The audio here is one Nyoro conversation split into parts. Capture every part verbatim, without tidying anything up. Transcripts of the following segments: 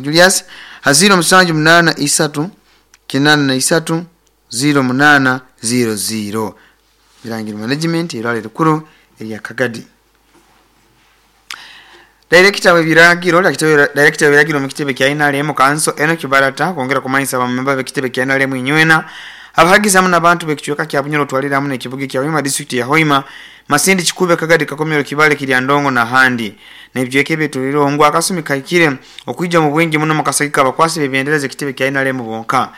Julius ha ziro musanju munana isatu kinana na isatu ziro munana ziro ziro. Birangiro Management irwaliro rikuru erya Kagadi. Director w'ebiragiro Director w'ebiragiro mu kitebe kya N R M Kanso Enoch Barata kwongera kumanyisa abamemba b'ekitebe kya N R M inywena abahagizi hamwe n'abantu b'ekicweka kya Bunyoro twalira hamwe n'ekibuga kya Hoima district ya Hoima Masindi Kikube Kagadi Kakomero Kibale Kiryandongo na handi n'ebicweka ebituliro akasumi kaikire okwija mu bwingi muno mu kasagika abakwasi b'ebyendereza ekitebe kya N R M bonka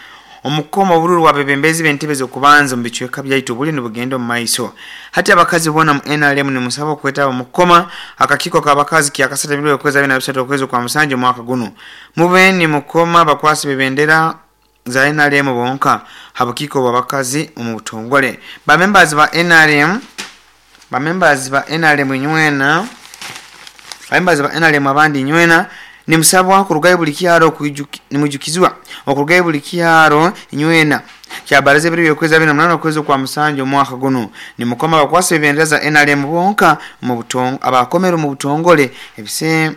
omukoma obululu wa bebembezi b'entebe z'okubanza mu bicweka byaitu buli nibugenda mu maiso. Hati abakazi bona mu N R M nimusaba okwetaba mukoma akakiiko k'abakazi kyakasata bibiri okwezi abiri na bisatu okwezi kwa musanju omwaka guno mube ni mukoma abakwasi b'ebendera za N R M bonka habukiiko bw'abakazi omu butongole. Ba members ba N R M ba members ba N R M nywena ba members ba N R M abandi nywena nimusabwa kurugayo buli kyaro nimujukizwa okurugayo buli kyaro nywena kyabaraze biri okwezi abiri na munana okwezi kwa musanju omwaka guno nimukoma abakwasi b'ebendera za N R M bonka mu butongo abakomero mu butongole ebise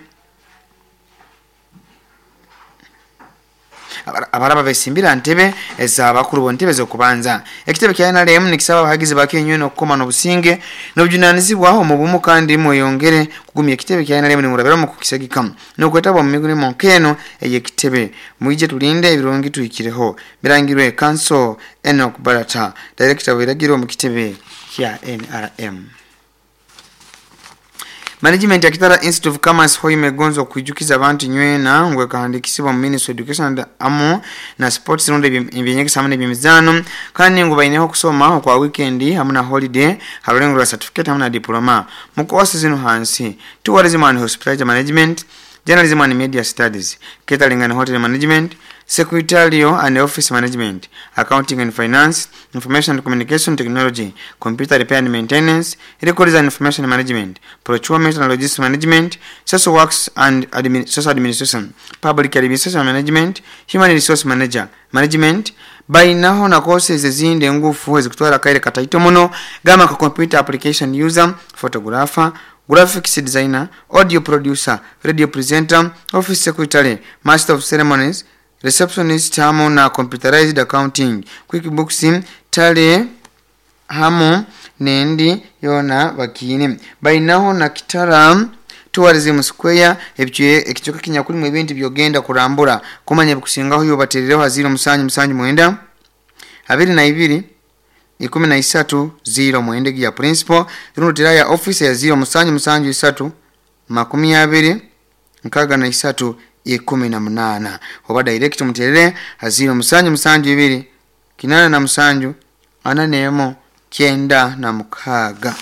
abaraba besimbira ntebe ez'abakuru bo ntebe z'okubanza. Ekitebe kya N R M nikisaba abahagizi bakenywe n'okukoma n'obusinge n'obujunanizibwa omu bumu kandi mweyongere kugumya ekitebe kya N R M nimurabira mu kukisagika n'okwetaba mu migulimo nk'eno ey'ekitebe. Mwije tulinde ebirungi tuhikireho. Birangirwe Kanso Enoch Barata, Director w'ebiragiro mu kitebe kya N R M. Management ya Kitara Institute of Commerce Hoima egonza okwijukiza abantu nywena ngwe kahandikisibwa mu Ministry of Education and amu na Sports rundi ebyenyegesa hamwe n'ebyemizaano kandi ngu baineho okusoma okwa weekend hamwe na holiday harulengo rwa certificate hamwe na diploma mu courses zino hansi: Tourism and Hospitality Management, Journalism and Media Studies, Catering and Hotel Management, Secretarial and Office Management, Accounting and Finance, Information and Communication Technology, Computer Repair and Maintenance, Records and Information Management, Procurement and Logistics Management, Social Works and Admin Social Administration, Public Administration Management, Human Resource Manager, Management. Bainaho na courses ezindi engufu ezikutwara kaire kataito muno gama ka Computer Application User, Photographer, Graphics Designer, Audio Producer, Radio Presenter, Office Secretary, Master of Ceremonies, Receptionist hamu na Computerized Accounting, QuickBooks, Tally hamu nendi yona bakine. Bainaho na Kitara Tourism Square ekichoka kinyakulimu ebintu byogenda kurambura kumanya bikusingaho yo baterereho haziro musanju musanju mwenda abiri na ibiri ikumi na isatu ziro mwende ya principal runo ya office ya ziro musanju musanju isatu makumi abiri nkaga na isatu ikumi na munana oba direct muterere haziro musanju musanju ibiri kinana na musanju ananemo kyenda na mukaga.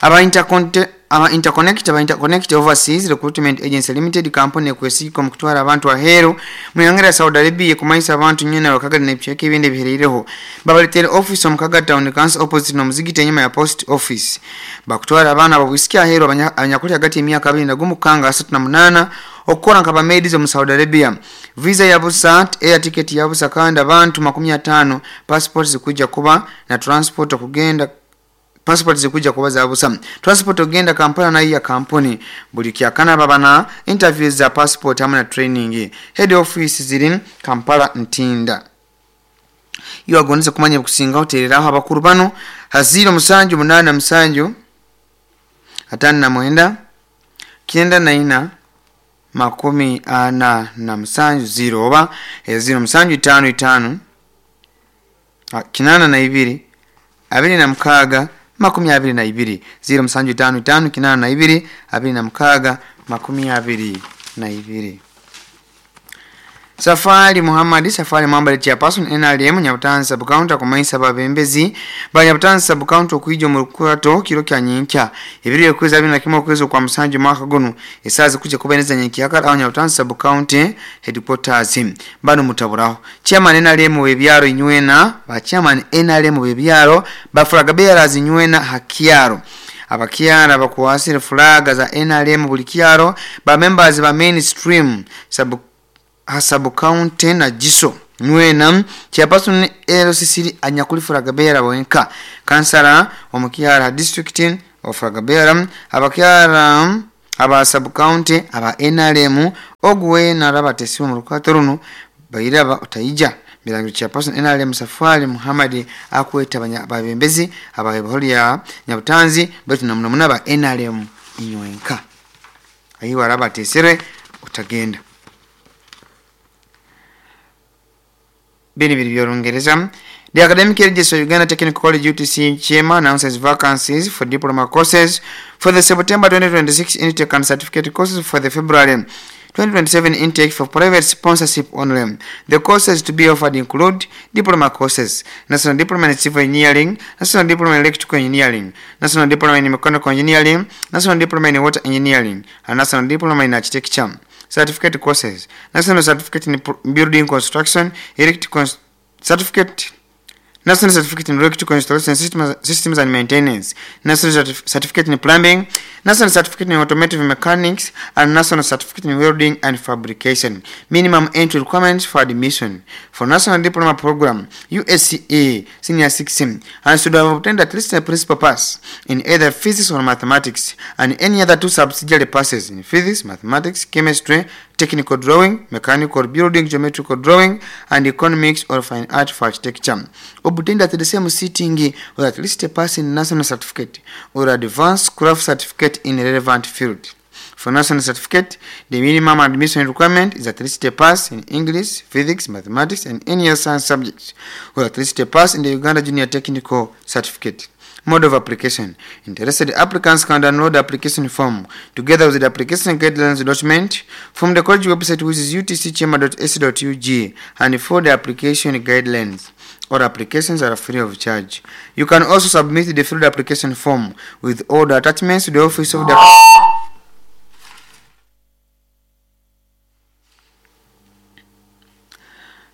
Aba interconte aba interconnect aba interconnect overseas recruitment agency limited company kwesiko mukutwara abantu aheru muyangera Saudi Arabia kumaisa abantu nyene bakagali n'ebicheke ebindi bihereireho babaletere office omukaga town council opposite no muzigiti enyuma ya post office bakutwara abaana babwisiki aheru abanyakuli hagati emyaka abiri na gumu kanga asatu na munana okukora nka bamedizo mu Saudi Arabia. Visa ya busa, air ticket ya busa kandi abantu makumi atano passport zikuja kuba na transport okugenda passport zikuja kuba za busa transport ogenda Kampala na iya kampuni buli kyakana babana interviews za passport hamwe na training. Head office ziri Kampala Ntinda. Iyo agonze kumanya kusinga hoteleraho abakuru bano haziro musanju munana musanju atano na mwenda kyenda na ina makumi ana na musanju ziro oba ziro musanju itano itano kinana na ibiri abiri na mukaga makumi abiri na ibiri ziro musanju itano itano kinana na ibiri abiri na mukaga makumi abiri na ibiri. Safari Muhammad Safari Muhammad chairperson N R M Nyabutanzi sub county kumaisa babembezi ba Nyabutanzi sub county okuija mu rukwato kiro kya nyinkya ebiri okwezi abiri na kimwe okwezi kwa musanju mwaka guno esazi kuje kubeneza nyinkya akara aho Nyabutanzi sub county headquarters bano mutaburaho chairman N R M webyaro inywena ba chairman N R M webyaro ba flag bearers inywena hakiaro abakiara bakuwasire flag za N R M buli kiaro ba members ba mainstream sub hasabu county na jiso nwena chairperson L C C anyakuli flag bearer wenka kansala omukiara district of flag bearer abakiara Aba sub county aba N R M oguwe naraba atesiwe mu rukwato runu bairaba otaija. Birangiro chairperson N R M Safari Muhammad akweta abebembezi aba ya Nyabutanzi baitu namuno muno aba N R M inywenka ayiwe araba atesere otagenda. Bini biri by'Olungereza. The Academic Registrar, Uganda Technical College U T C Kyema, announces vacancies for diploma courses for the September twenty twenty-six intake and certificate courses for the February twenty twenty-seven intake for private sponsorship only. The courses to be offered include diploma courses, National Diploma in Civil Engineering, National Diploma in Electrical Engineering, National Diploma in Mechanical Engineering, National Diploma in Water Engineering, and National Diploma in Architecture. Certificate courses, National Certificate in Building Construction, Electrical Certificate, National Certificate in Electrical Installation Systems, Systems and Maintenance, National Certif Certificate in Plumbing, National Certificate in Automotive Mechanics, and National Certificate in Welding and Fabrication. Minimum entry requirements for admission. For National Diploma Program, U S C E Senior six and should have obtained at least a principal pass in either physics or mathematics, and any other two subsidiary passes in physics, mathematics, chemistry, technical drawing, mechanical building, geometrical drawing, and economics or fine art for architecture. Obtained at the same sitting or at least a pass in national certificate or advanced craft certificate in relevant field. For national certificate, the minimum admission requirement is at least a pass in English, physics, mathematics, and any other science subjects, or at least a pass in the Uganda Junior Technical Certificate. Mode of application. Interested applicants can download the application form together with the application guidelines document from the college website, which is U T C kyema dot A C dot U G, and for the application guidelines. All applications are free of charge. You can also submit the filled application form with all the attachments to the office of the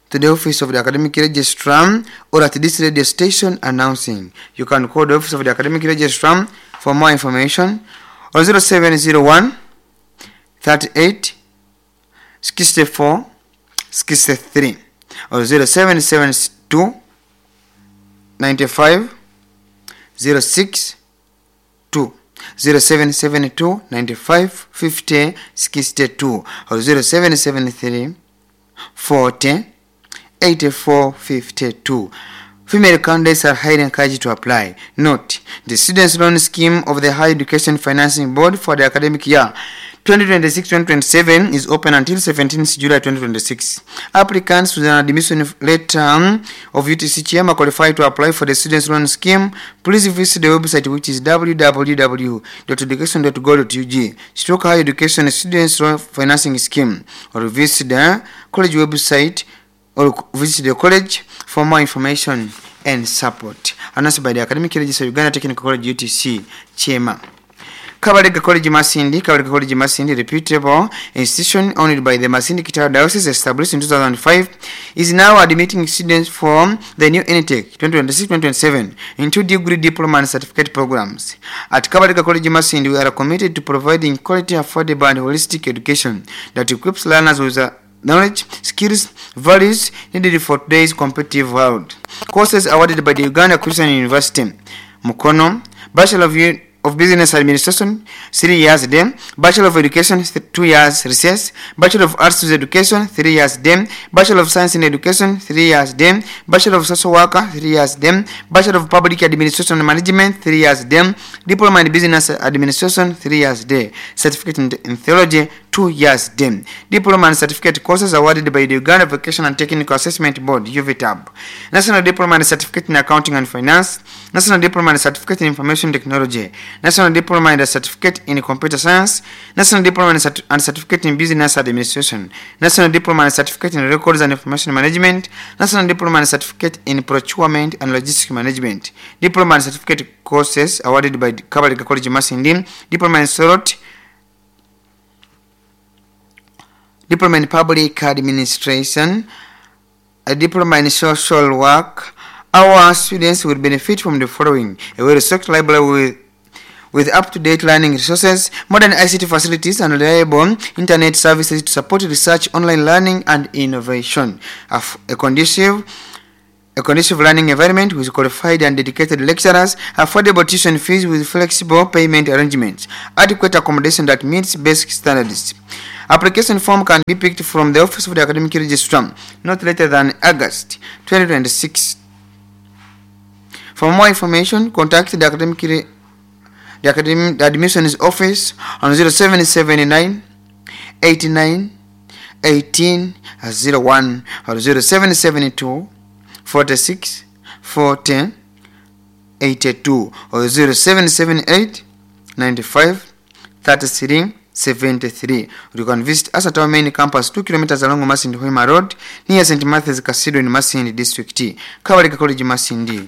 to the office of the academic registrar or at this radio station announcing. You can call the office of the academic registrar for more information on zero seven zero one thirty-eight sixty-four sixty-three or zero seven seven two ninety-five zero six two, zero seven seven two ninety-five fifty sixty-two or zero seven seven three forty eighty-four fifty-two. Female candidates are highly encouraged to apply. Note, the Students' Loan Scheme of the Higher Education Financing Board for the academic year twenty twenty-six twenty twenty-seven is open until seventeenth July twenty twenty-six. Applicants with an admission letter of U T C Kyema qualify to apply for the Students' Loan Scheme. Please visit the website, which is w w w dot education dot go dot U g stroke higher education students loan financing scheme, or visit the college website or visit the college for more information and support. Announced by the Academic Registrar, Uganda Technical College U T C Kyema. Kabalega College Masindi. Kabalega College Masindi, reputable institution owned by the Masindi Kitara Diocese, established in two thousand five, is now admitting students for the new intake twenty twenty-six twenty twenty-seven in two degree, diploma and certificate programs. At Kabalega College Masindi, we are committed to providing quality, affordable and holistic education that equips learners with the knowledge, skills, values needed for today's competitive world. Courses awarded by the Uganda Christian University, Mukono: Bachelor of, U- of Business Administration, three years day; Bachelor of Education, th- two years recess; Bachelor of Arts with Education, three years day; Bachelor of Science in Education, three years day; Bachelor of Social Worker, three years day; Bachelor of Public Administration and Management, three years day; Diploma in Business Administration, three years day; Certificate in, in Theology, two years day. Diploma and certificate courses awarded by the Uganda Vocational and Technical Assessment Board, U V T A B: National Diploma and Certificate in Accounting and Finance, National Diploma and Certificate in Information Technology, National Diploma and Certificate in Computer Science, National Diploma and, Cert- and Certificate in Business Administration, National Diploma and Certificate in Records and Information Management, National Diploma and Certificate in Procurement and Logistics Management. Diploma and Certificate courses awarded by Kabalega College Masindi: Diploma in Sorot, Diploma in Public Administration, a Diploma in Social Work. Our students will benefit from the following: a well-stocked library with with up-to-date learning resources, modern I C T facilities, and reliable internet services to support research, online learning, and innovation. A, f- a conducive A conducive learning environment with qualified and dedicated lecturers, affordable tuition fees with flexible payment arrangements, adequate accommodation that meets basic standards. Application form can be picked from the Office of the Academic Registrar not later than August twenty twenty-six. For more information, contact the academic the academic the admissions office on zero seven seven nine eight nine eighteen zero one or zero seven seven two forty-six forty eighty-two or zero seven seven eight ninety-five thirty-three seventy-three. You can visit us at our main campus two kilometers along Masindi Hoima Road near Saint Matthew's Cathedral in Masindi District. Kabalika College Masindi.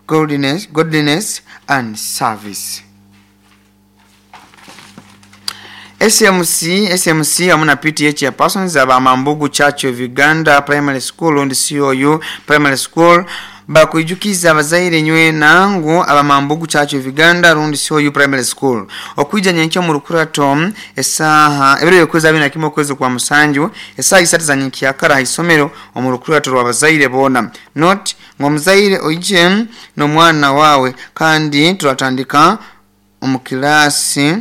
Godliness, godliness and service. S M C, S M C amuna P T H ya persons aba Mambugu Church of Uganda Primary School and C O U Primary School bakuijukiza abazaire nywe nangu aba Mambugu Church of Uganda rundi C O U Primary School okuija nyenkyo mu rukurato esaha ebiro yokwezi abiri na kimwe okwezi kwa musanju esaha isatu za nyenkya ha isomero omu rukurato rw'abazaire bona not ngo muzaire oije n'omwana wawe kandi turatandika omu kilasi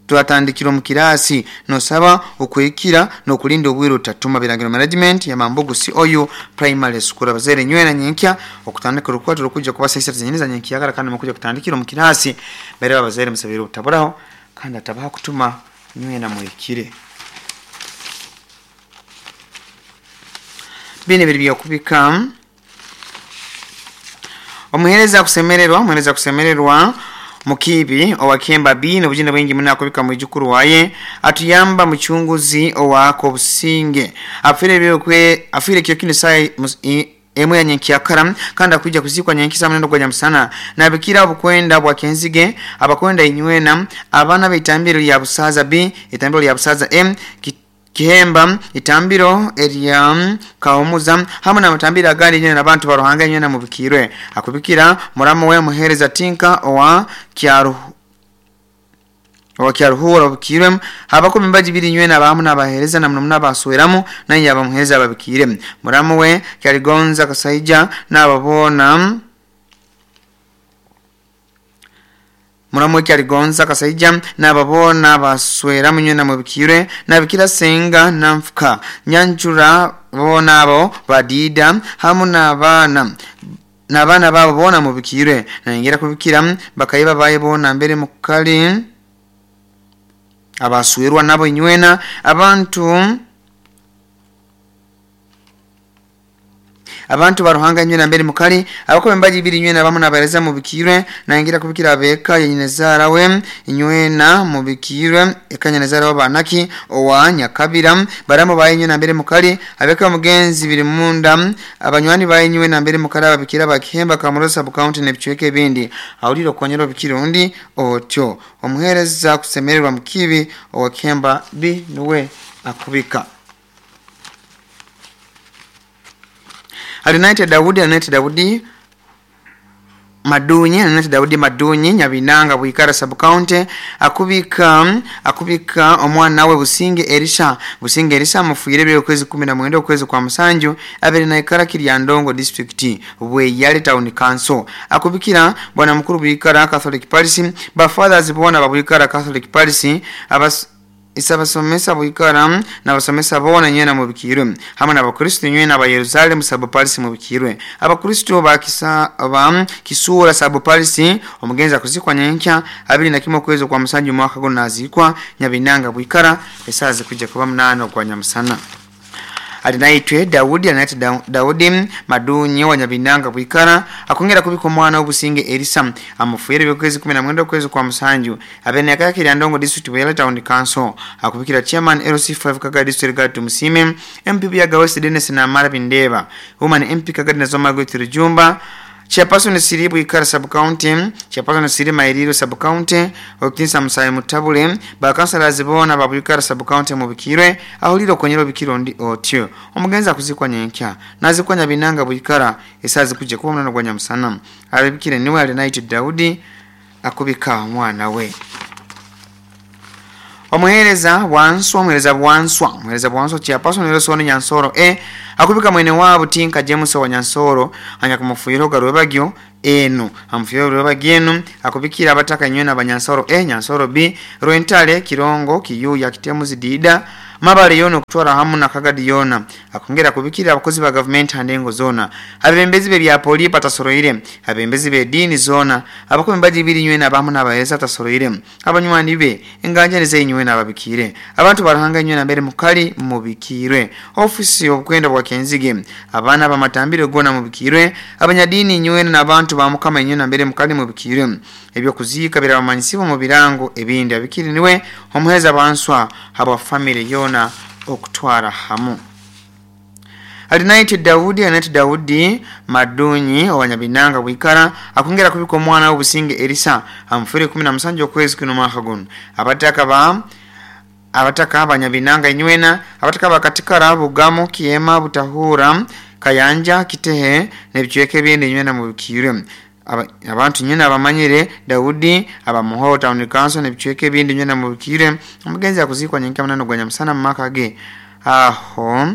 turatandikira mu kirasi nosaba okwekira nokulinda obwiro tatuma biragiro management ya Mambugu C O U Primary School abazaire nywena nyenkya okutandika rukwato rukujja kubasa isatu zenyine za nyenkya kandi mukuja kutandikira mu kirasi bere abazaire musabira obutaburaho kandi atabaha kutuma nywena murekire bine biri byokubika omuhereza kusemererwa omuhereza kusemererwa Mukibi owakemba B n'obujina bwingi munakubika mwijukuru waye atuyamba muchunguzi owako businge afire byokwe afire kyo kino sai emwe yanyenkyakara kandi akuja kuzikwa nyenkisa munendo gwa nyamusana nabikira obukwenda bwa kenzige abakwenda inywena abana beitambiro ya busaza B itambiro ya busaza M ki, Kihemba itambiro erya kaumuza hamwe na matambiro agandi nyene nabantu baruhanga nyene mubikirwe akubikira muramu we muhereza tinka owa kyaru owa kyaruhura bukirwe habako mimbaji biri nyene abamu nabahereza na mnumna basweramu naye yabamuhereza babikire muramu we kyaligonza kasaija nababona muramu kyaligonza kasaija nababona baswera munye na mubikire nabikira senga namfuka nyanjura bona abo badida hamu nabana nabana babo bona mubikire naingira kubikira bakayiba baye bona mbere mukali abaswerwa nabo nywena abantu abantu baruhanga nywena mbere mukali abako mbaji biri nywena bamu nabareza mubikirwe naingira kubikira abeka yenyezara we nywena mubikirwe ekanyezara wabanaki owa nyakabira baramo baye nywena mbere mukali abeka mugenzi biri munda abanywani baye nywena mbere mukali ababikira bakihemba kamurosa bu county ne bichweke bindi awuliro konyero bikirundi otyo omuhereza kusemererwa mukibi owakemba B nuwe akubika Alinaite Daudi, Alinaite Daudi Madunyi, Alinaite Daudi Madunyi, Nyabinanga Bwikara sub county, akubika akubika omwana we Businge Elisha, Businge Elisha mufuire byo kwezi kumi na mwenda okwezi kwa musanju, abere na ikara Kiryandongo district, Bweyale town council. Akubikira bwana mukuru Bwikara Catholic Parish, ba fathers bona ba Bwikara Catholic Parish, abas isabasomesa Bwikara na basomesa bona nyena mubikirwe hamwe n'abakristo nyena ba Yerusalemu sub parish mubikirwe abakristo bakisa ba kisura sub parish omugenza kuzikwa nyenkya abiri na kimwe kwezo kwa musanju mwaka go nazikwa Nyabinanga Bwikara esaze kujja kuba munano kwa nyamusana Alinaitwe Daudi Alinaitwe Daudi Madunyi wa Nyabinanga Bwikara akongera kubika omwana w'Obusinge Elisa amufuire by'okwezi kumi na mwenda okwezi kwa musanju abene akaya Kiryandongo district Bweyale town council akubikira chairman L C five Kaga district Gatu Musime M P Buyaga West Dennis Namara Bindeba woman M P Kaga Nazoma Gwetiri Jumba Chairperson Siri Bwikara sub county Chairperson Siri Mairiro sub county Okinsa Musaye Mutabule bakansala zibona ba Bwikara sub county mubikirwe ahuliro konyero bikirondi otyo omugenza kuzikwa nyenkya nazikwa Nyabinanga Bwikara esazi kuje kuba munano gwa nyamusana abibikire niwe Alinaite Daudi akubika omwana we Omuhereza bwanswa omuhereza bwanswa omuhereza bwanswa chairperson Nelson Nyansoro e akubika mwene wabo Tinka James wa Nyansoro anyakumufuyiro garwebagyo enu amufuyiro rwebagyo akubikira abataka nywena abanyansoro e Nyansoro B Rwentale Kirongo Kiyuya Kitemuzi Dida Mabale yono kutwara hamu na Kagadi yona akongera kubikira abakozi ba government handengo zona abembezi be bya poli patasoroire abembezi be dini zona abakombaji biri nywena abamu n'abahereza tasoroire abanywani be enganja nize nywena ababikire abantu barahanga nywena mbere mukali mubikirwe ofisi obukwenda bwa Kenzige abana bamatambire gona mubikirwe abanyadini nywena n'abantu ba mukama nywena mbere mukali mubikirwe ebyo kuzika birabamanyisibo mu birango ebindi abikiri niwe omuheza banswa haba family yona okutwara hamu. Alinaiti Daudi Alinaiti Daudi Madunyi owanyabinanga wikara akongera kubika omwana w'obusinge Elisa amufere kumi na musanju okwezi kuno mwaka guno abataka ba abataka abanyabinanga inywena abataka bakatikara Bugamu Kiema Butahura Kayanja Kitehe n'ebicweke ebindi inywena mubikirwe abantu nyina abamanyire Daudi abamuho town council n'ebicweke ebindi nywena mubikirwe omugenzi akuzikwa nyenka munano gwa nyamusana mu maka ge aho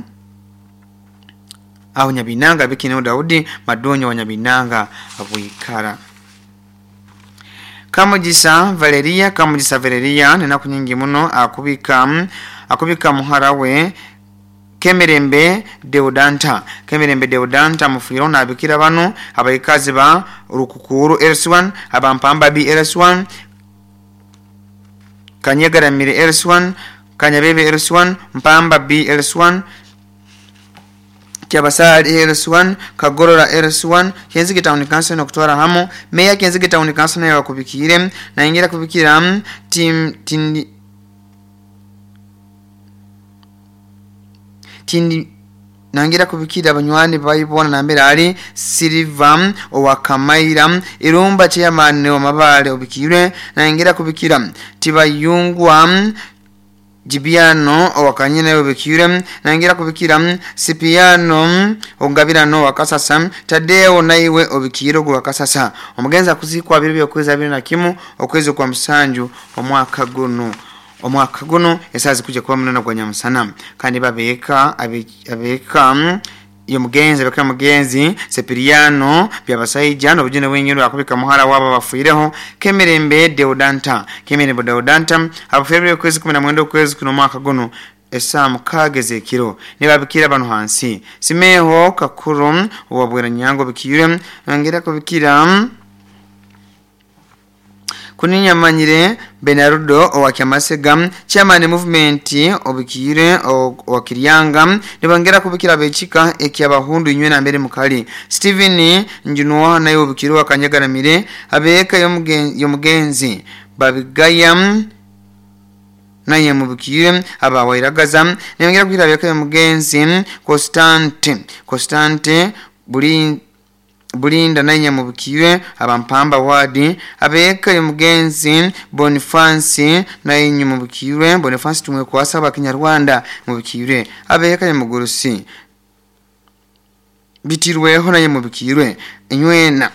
aho Nyabinanga bikino Daudi Madonyo wa Nyabinanga abwikara. Kamugisa Valeria Kamugisa Valeria nina kunyingi muno akubika akubika muharawe Kemerembe Deodanta Kemerembe Deodanta mufiro na abikira bano abayikazi ba Rukukuru L S one abampamba B L S one Kanyagaramire L S one Kanyabebe L S one Mpamba B L S one Kyabasali L S one Kagorora L S one Kenzige Town Council no kutwara hamu Meya Kenzige Town Council nayo bakubikire na ingira kubikira team tindi tindi nangira kubikira abanywani bayibona nambere ali Silva owakamaira Irumba chairman wa mabale obikirwe nangira kubikira Tibayungwa Jibiano owakanyina obikirwe nangira kubikira Sipiano ongabirano wakasasa Tadeo naiwe obikiro gwa kasasa omugenza kuzikwa biro byokweza biri na kimu okwezi kwa musanju omwaka guno omwaka guno esazi kuja kuba munana gwa nyamusana kandi babeka abeka iyo mugenzi beka mugenzi Sepiriano byabasaija no bujune wenyine akubika muhara waba bafuireho Kemerembe Deodanta Kemerembe Deodanta abafuire kwezi kumi na mwenda kwezi kuno mwaka guno esamu kageze kiro nibabikira abantu hansi Simeho Kakuru wabwera nyango bikire ngera kubikira Kuninyamanyire Benarudo owakiamasega chairman movement obikire owakiryanga nibongera kubikira bechika ekyabahundu inywena mbere mukali Steven Njunwa nayo obikire wakanyagaramire abeka yomugenzi babigaya naye mubikire abawairagaza nibongera kubikira abeka yomugenzi Constante Constante buli Bulinda naye mubikire abampamba wadi abeka yomugenzi Boniface naye mubikire Boniface tumwe kwasa abakinyarwanda mubikire abeka yomugurusi bitirweho naye mubikire inywena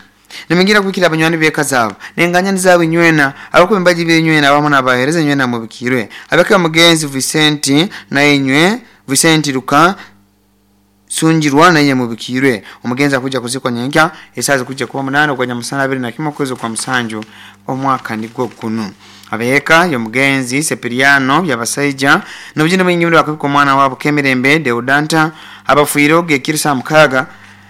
nimingira kubikira abanywani beka zabo nenganya nizabo inywena abakumbaji binywena abamo nabahereza inywena mubikire abeka yomugenzi Vicente naye nywe Vicente Luka Sunjirwa naye mubikirwe omugenzi akuja kuzikwa nyenka esazi kuja kuba munano kwa nyamusana abiri na kimwe kwezi kwa musanju omwaka nigwo guno abeka yomugenzi Sepiriano byabasaija nobujine bwingi bakubika omwana wabo Kemerembe Deodanta abafuiro gekirisa mukaga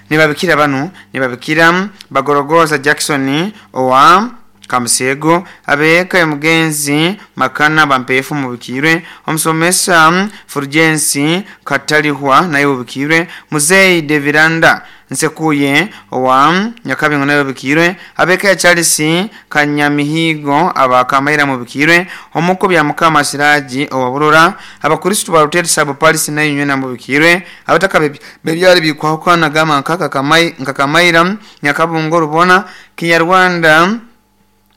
nibabikira banu nibabikira Bagorogoza Jackson owa Kamusego abeka yomugenzi Makana bampefu mubikirwe omusomesa Fulgensi Katalihwa naye mubikirwe Muzei Deviranda Nsekuye owa Nyakabingo naye mubikirwe abeka ya Charles Kanyamihigo abakamaira mubikirwe omuko bya Mukama Siraji owa Burora abakristo ba Hotel Sabo Paris naye nywena mubikirwe abataka bebyali bikwakwana gama nkaka kamai nkakamaira Nyakabungo rubona Kinyarwanda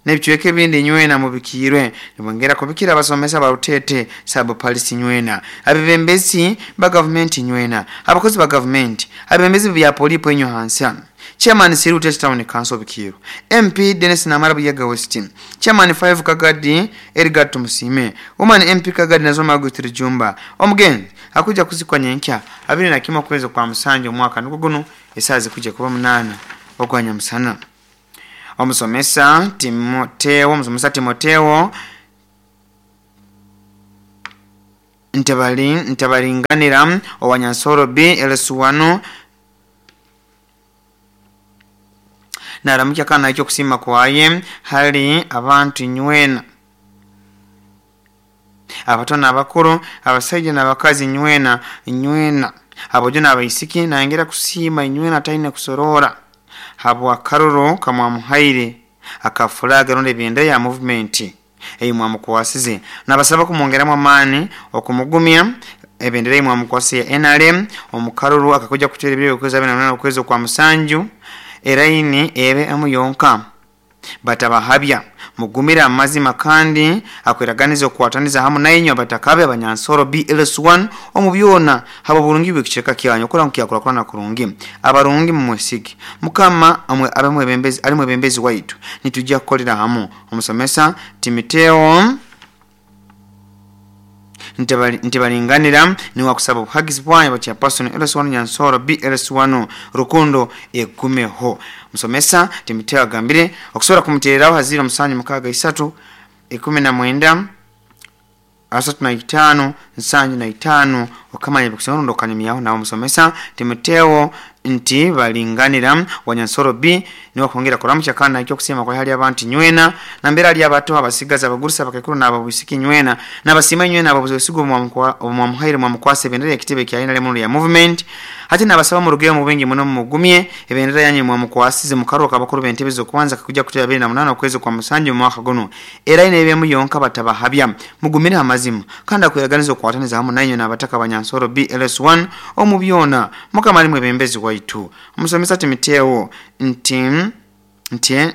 nebichweke bindi nywena mubikirwe nibongera kubikira abasomesa ba Rutete Sabo Paris nywena abebembezi ba government nywena abakozi ba government abebembezi bya polipo enyo hansi Chairman Siru Town Council Bikiro, M P Dennis Namara Buyaga West, Chairman five Kagadi Edgar Tumusime, Woman M P Kagadi Nazoma Gutiri Jumba. Omugenzi akuja kuzikwa nyenkya abiri na kimwe kwezi kwa musanju omwaka niko guno esazi kuja kuba munana ogwanya musana. Omusomesa Timoteo, omusomesa Timoteo Ntabali ntabalinganira owanyansoro B L S one naramukya kana ekyo kusima kwaye hali abantu nywena abato n'abakuru abasajja n'abakazi nywena nywena abojo n'abaisiki nangera kusima nywena taine kusorora habwa karuro kamwamuhaire akafulaga ronde bendera ya movement eyi mwamukwasize nabasaba kumwongeramu amaani okumugumya ebendera eyi mwamukwasize ya N R M omukaruru akakuja kutera ebiro okwezi abiri na munana okwezi kwa musanju eraini ebe amuyonka batabahabya mugumira amazima kandi akweraganiza okwataniza hamu nainyo batakabe abanyansoro B L S one omubyona habo burungi bwekiceka kyanyu okora nkyakurakurana kurungi abarungi mumwesige mukama amwe abamwe bembezi ali mwebembezi waitu nitujja kukolera hamu. Omusomesa Timoteo ntibalinganira ni wakusaba obuhagizi bwanyu bacha person L S one Nyansoro B L S one Rukundo egumeho. Musomesa Timoteo agambire okusobola kumutereraho haziro musanju mukaaga isatu ikumi na mwenda asatu na itaano nsanju na itaano okamanya bikusoma ndo kanyumyaho nawo musomesa Timoteo nti balinganira wanyansoro B ni wakwongera kuramukya kana ekyo kusema kwa hali abantu nywena na mbera ali abato abasigaza abagurusa abakekuru n'ababusiki nywena n'abasima nywena ababuzigo mwamuhaire mwamukwase bendera ekitebe kya N R M ya movement hati n'abasaba mu rugero mu bengi muno mugumye ebendera yanyu mwamukwasize mukaruka abakuru b'entebe kubanza kakuja kutera abiri na munana okwezi kwa musanju mu mwaka guno era ine ebemu yonka batabahabya mugumire amazima kandi akweraganiza okwataniza hamu nanyu n'abataka abanyansoro B L S one omubyona mukama ali mwebembezi waitu. Omusomesa Timoteo nti nti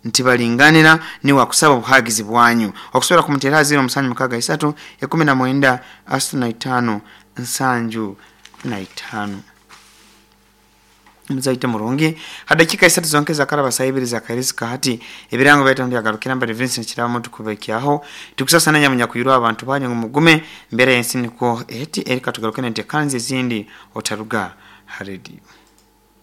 ntibalinganira ni wakusaba obuhagizi bwanyu okusobola kumutera zero musanju mukaaga isatu ikumi na mwenda asatu na itaano nsanju na itaano. Muzaite murungi hadakika isatu zonke za karaba saibiri za karizika hati ebirango byaita ndi agarukira mbere Vincent Kirabo tukubekyaho tukusasa nanya munyakuyirwa abantu banyu ngo mugume mbere yensi niko eti erika tugarukene nte kanzi zindi otaruga haredi.